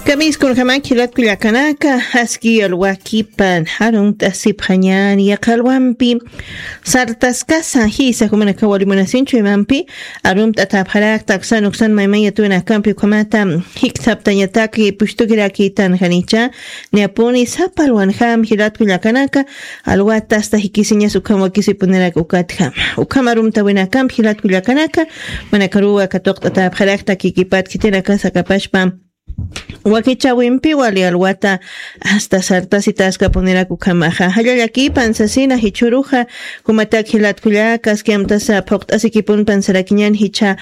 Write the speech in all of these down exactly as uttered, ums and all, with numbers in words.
Kamiskunxamak jilatkullakanaka, aski alwakipan arumt'asipxañani yaqalwampi sartaskasa jisa jumanakaw alimunasinchu imampi arumt'atapxarakta aksan uksan maymaya tuwinakampi ukhamata jikthaptañataki pushtukirakitan janicha. Niyapuni sapalwanxam jilatkullakanaka alwata asta jikisiñas ukham wakisipunirak ukatjam ukham arumtawinakampi jilatkullakanaka manakaruwa katuqt'atapxarakta kikipat khitinakasa kapashpa wakichawimpi wali alwata asta sartasitaskapunirak ukhamaxa jallallakipan sasina jichhuruxa jumatak jilatkullakas kiamtasa phuqt'asikipunpan sarakiñan jichha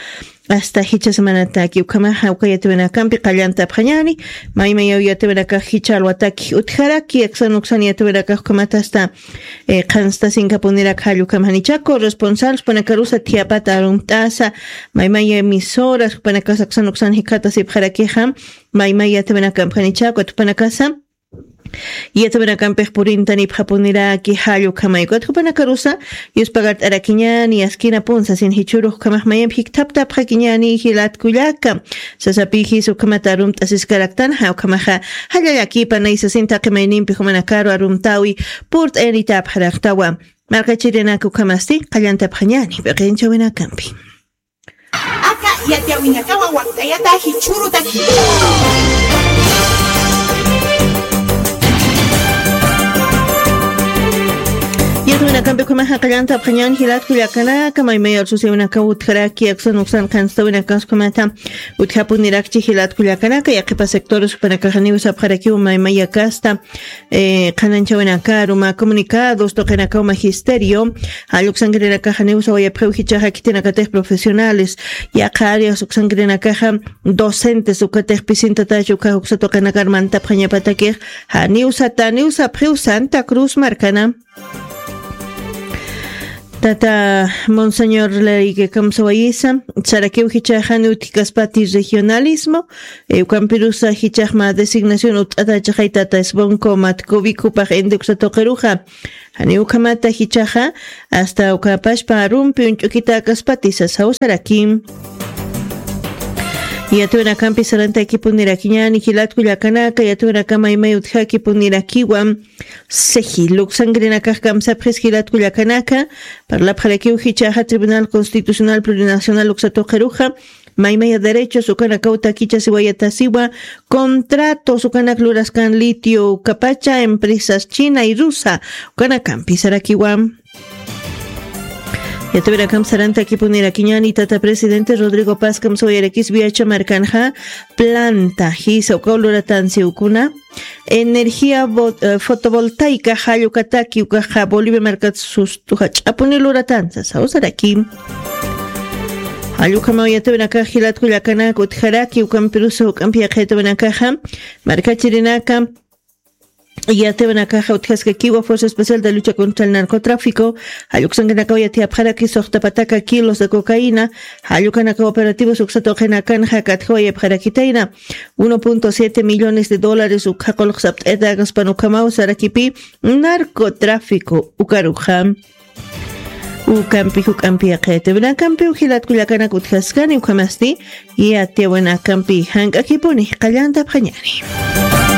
asta jichha semanataki ukhamaxa uka yatiwinakampi qallantapxañani. Maymayaw yatiwinakax jichha alwataki utjaraki aksan uksan yatiwinakax ukhamata asta qhanstasinkapunirak jallukam janicha corresponsal jupanakarusa thiyapata arumt'asa maymaya emisoras jupanakas aksan uksan jikhatasipxarakixa maymaya yatiwinakampi janicha ukat jupanakasa yatiwinakampix purintanipxapuniraki jallukamaykut jupanakarusa yuspagart'arakiñani askina punsa sin jichhurux ukhamaq mayampi jikthaptapxakiñani jilatkullaka. Sasapixis ukhamata arumt'asiskaraktan jawkhamaxa jallallakipa naysasin taqi maynimpi jumanakaru arumtawi purt'ayanitapxaraktawa. Marqachirinak ukhamasti qallantapxañani p'iqinchawinakampi. Aka yatiyawinakawa wakt'ayata jichhurutaki. Yatwinakampi ukhamaxa qallantapxañan jilatkullakanaka maymaya arsusiwinakaw utjaraki aksan uksan qhanstawinakas ukhamata utjapunirakchi jilatkullakanaka yaqhipa sectores jupanakaxaniw sapxarakiw maymayakasta qhananchawinakaru mä comunicados tuqinakaw magisterio jalluksankirinakaxaniw sawayapxiw jichaxa khitinakatix profesionales yaqha áreas uksankirinakaxa docentes ukatix pisintatach ukhax uksa tuqinakar mantapxañapatakix janiw sataniw sapxiw santa cruz markana. Tata monseñor larikikamsawayisa sarakiw jichaxani utjikaspati regionalismo ukampirusa jichaxma designación ut'atachaxay tata esbonco matcovic jupax indi uksa tuqiruxa janiw ukhamata jichaxa asta ukapashpa arumpi uñch'ukitäkaspati sasaw sarakim. Yatwinakampi sarantakipunirakiñani jilatkullakanaka yatwinakama imay utjakipunirakiwa. Siji luksankirinakax kamsapxis jilatkullakanaka parlapxarakiw jichaxa tribunal constitucional plurinacional uksa tuqiruxa maymaya derechos ukanakaw takichasiwayatasiwa contratos ukanak luraskan litio ukapacha empresas china y rusa ukanakampi sarakiwa. Yatawirakamp sarantakipunirakiñani tata presidente rodrigo paz kamsawayarakis viacha markanxa planta jisa ukaw luratansi ukuna energía fotovoltaica jallukataki ukaxa bolivia markat sustu jach'apuni luratansa sawsaraki. Jallukamaw yatawinakax jilatkullakanak utjaraki ukampirusa uk'ampi yaqhayatawinakaxa markachirinaka yatawinakaxa utjaskakiwa fuerza especial de lucha contra el narcotráfico jalluksankanakaw yatiyapxaraki suxtapataka kilos de cocaína jallukanaka operativos uksata uqinakanxa katjawayapxarakitayna uno punto siete millones de dólares ukja qulqsapt'ayatagaspan ukhamaw sarakipi narcotráfico ukaruxa. Ukampi juk'ampi yaqhayatiwinakampi ujilatkullakanak utjaskani ukhamasti yatiyawinakampi jank'akipuni qallantapxañani.